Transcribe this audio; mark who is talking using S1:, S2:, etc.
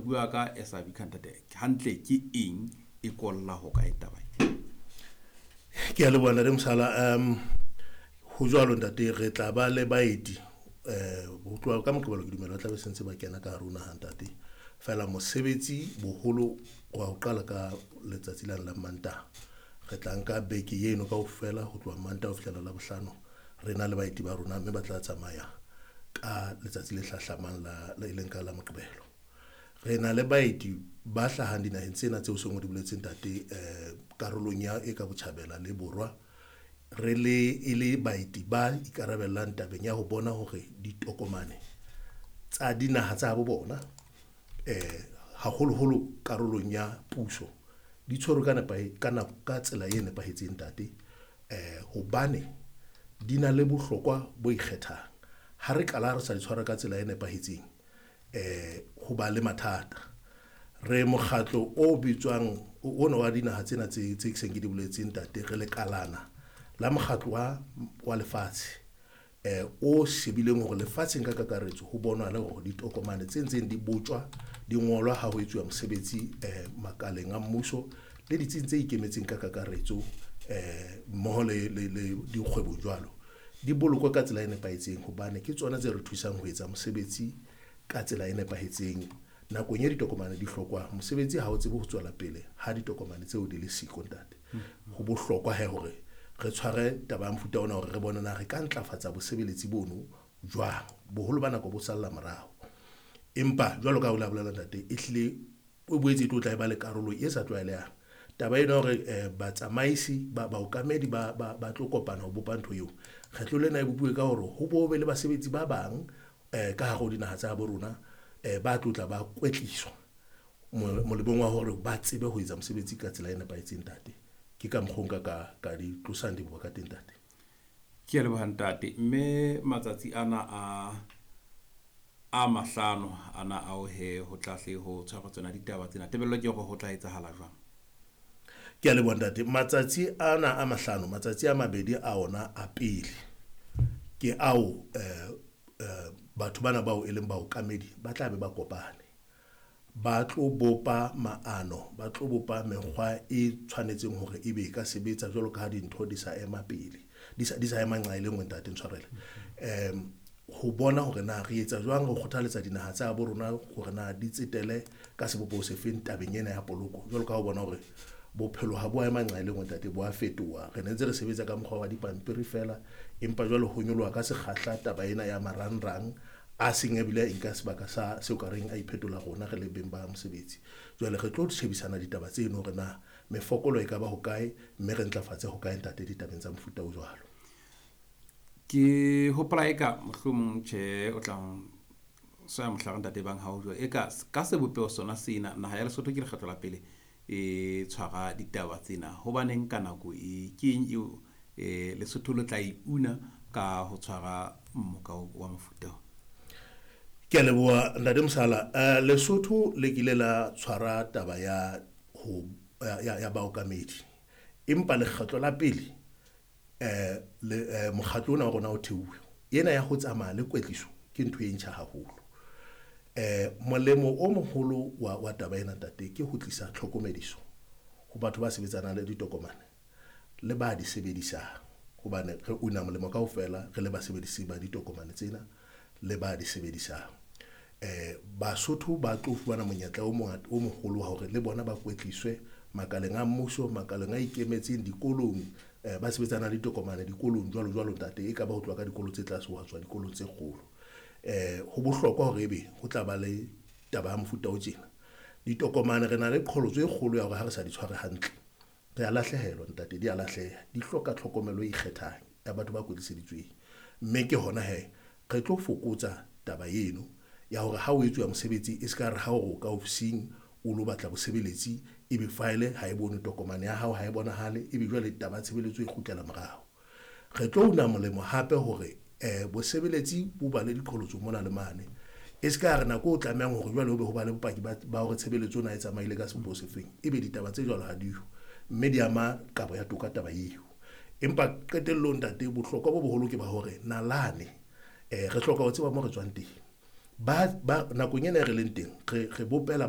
S1: bua ka SIB ntate, hantle ke eng e kolla ho kae taba e?
S2: Ke a leboha ntate Mosala. Ho jwalo ntate, re tla ba le baeti ho tloha ka Moqebelo, ke dumela ba tla be sentse ba kena ka hare ho naha ntate. Feela mosebetsi boholo wa ho qala ka letsatsi lane la Mantaha, re tla nka beke eno kaofela ho tloha Mantaha ho fihlela Labohlano, re na le baeti ba rona, mme ba tla tsamaya ka letsatsi le hlahlamang la le leng ka la Moqebelo. Re na le baeti ba hlahang dinaheng tsena tseo seng o di boletseng ntate, karolong ya e ka botjhabela le borwa, re le e le baeti ba ikarabellang tabeng ya ho bona hore ditokomane tsa dinaha tsa bo bona, haholoholo karolong ya puso, di tshwerwe ka ka nako, ka tsela e nepahetseng ntate. Hobane di na le bohlokwa bo ikgethang. Ha re qala re sa di tshwara ka tsela e nepahetseng, ho ba le mathata. Re mokgatlo o bitswang ona wa dinaha tsena tse seng ke di boletseng ntate, re le kalana la mokgatlo wa lefatshe o shebileng hore lefatsheng ka kakaretso ho bonwa le hore ditokomane tse ntseng di botjwa di ngolwa ha ho etsuwa mosebetsi makaleng a mmuso le ditsing tse ikemetseng ka kakaretso, mmoho le dikgwebong jwalo, di bolokwe ka tsela e nepahetseng, hobane ke tsona tse re thusang ho etsa mosebetsi ka tsela e nepahetseng. Nakong e ditokomane di hlokwang, mosebetsi ha o tsebe ho tswela pele ha ditokomane tseo di le siko ntate. Ho bohlokwa he hore re tshware taba ya mofuta ona hore re bone na re ka ntlafatsa bosebeletsi bono jwang. Boholo ba nako bo salla morao, empa jwalo ka ha o la bolela ntate, e hlile o boetse e tlo tla e ba le karolo e sa tlwaelehang. Taba ena hore batsamaisi ba baokamedi ba tlo kopana ho bopa ntho eo, kgetlo lena e bopuwe ka hore ho bo be le basebetsi ba bang ka hare ho dinaha tsa bo rona, ba tlo tla ba kwetliswa molemong wa hore ba tsebe ho etsa mosebetsi ka tsela e nepahetseng ntate. Ke ka mokgwa o nka ka di tlosang diboka ka teng ntate.
S1: Ke a leboha ntate. Mme matsatsi ana a mahlano ana ao he ho tla hle ho tshwarwa tsona ditaba tsena, tebello ke hore ho tla etsahala jwang?
S2: Ke a leboha ntate. Matsatsi ana a mahlano, matsatsi a mabedi a ona a pele ke ao batho bana bao e leng baokamedi ba tla be ba kopane, ba tlo bopa maano, ba tlo bopa mekgwa e tshwanetseng hore ebe e ka sebetsa jwalo ka ha dintho di sa ema pele, di sa ema nqa e le nngwe ntate, ntshwarele. Ho bona hore na re etsa jwang ho kgothaletsa dinaha tsa bo rona hore na di tsetele ka sebopeho sefeng tabeng ena ya poloko, jwalo ka ha o bona hore bophelo ha bo a ema nqa e le nngwe ntate, bo a fetoha. Re ne ntse re sebetsa ka mokgwa wa dipampiri fela, empa jwale ho nyoloha ka sekgahla taba ena ya marangrang a seng ebile a nka sebaka sa seo ka reng a iphetola rona re le beng ba mosebetsi. Jwale re tlo shebisana ditaba tseno hore na mefokolo e ka ba hokae, mme re ntlafatse hokae ntate ditabeng tsa mofuta o jwalo.
S1: Ke hopola eka mohlomong tjhe o tla soya mohlare ntate bang ha o jwa eka ka sebopeho sona sena naha ya Lesotho ke lekgetlo la pele e tshwara ditaba tsena. Hobaneng ka nako e ke eng eo Lesotho le tla e una ka ho tshwara mmoka wa mofuta o?
S2: Ke a leboha ntate Mosala. Lesotho le kile la tshwara taba ya ho ya baokamedi, empa lekgetlo la pele le mokgatlo ona wa rona o theuwe, ena ya ho tsamaya le kwetliso ke ntho e ntjha haholo. Molemo o moholo wa taba ena ntate ke ho tlisa tlhokomediso ho batho ba sebetsanang le ditokomane le ba di sebedisang, hobane re una molemo kaofela re le basebedisi ba ditokomane tsena le ba di sebedisang. Basotho ba tlo fumana monyetla o mongata o moholo wa hore le bona ba kwetliswe makaleng a mmuso, makaleng a ikemetseng, dikolong, ba sebetsana le ditokomane dikolong jwalo jwalo ntate, e ka ba ho tloha ka dikolo tse tlase ho tswa dikolong tse kgolo. Ho bohlokwa hore ebe ho tla ba le taba ya mofuta o tjena. Ditokomane re na le qholotso e kgolo ya hore ha re sa di tshware hantle re a lahlehelwa ntate, di a lahleha, di hloka tlhokomelo e ikgethang ya batho ba kwetliseditsweng. Mme ke hona he re tlo fokotsa taba eno ya hore ha o etsuwa mosebetsi e ska re ha o ka ofising o lo batla bosebeletsi, ebe file ha e bone, tokomane ya hao ha e bonahale, ebe jwale taba ya tshebeletso e kgutlela morao. Re tlo una molemo hape hore bosebeletsi bo ba le diqholotso mona le mane, e ska re nako o tlamehang hore jwale ho be ho ba le bopaki ba hore tshebeletso ona e tsamaile ka sebopeho sefeng, ebe ditaba tse jwalo ha diyo, mme di ama kabo ya toka taba eo. Empa qetellong ntate, bohlokwa bo boholo ke ba hore nalane, re hloka ho tseba mo re tswang teng. Ba nakong ena e re leng teng, re bopela ba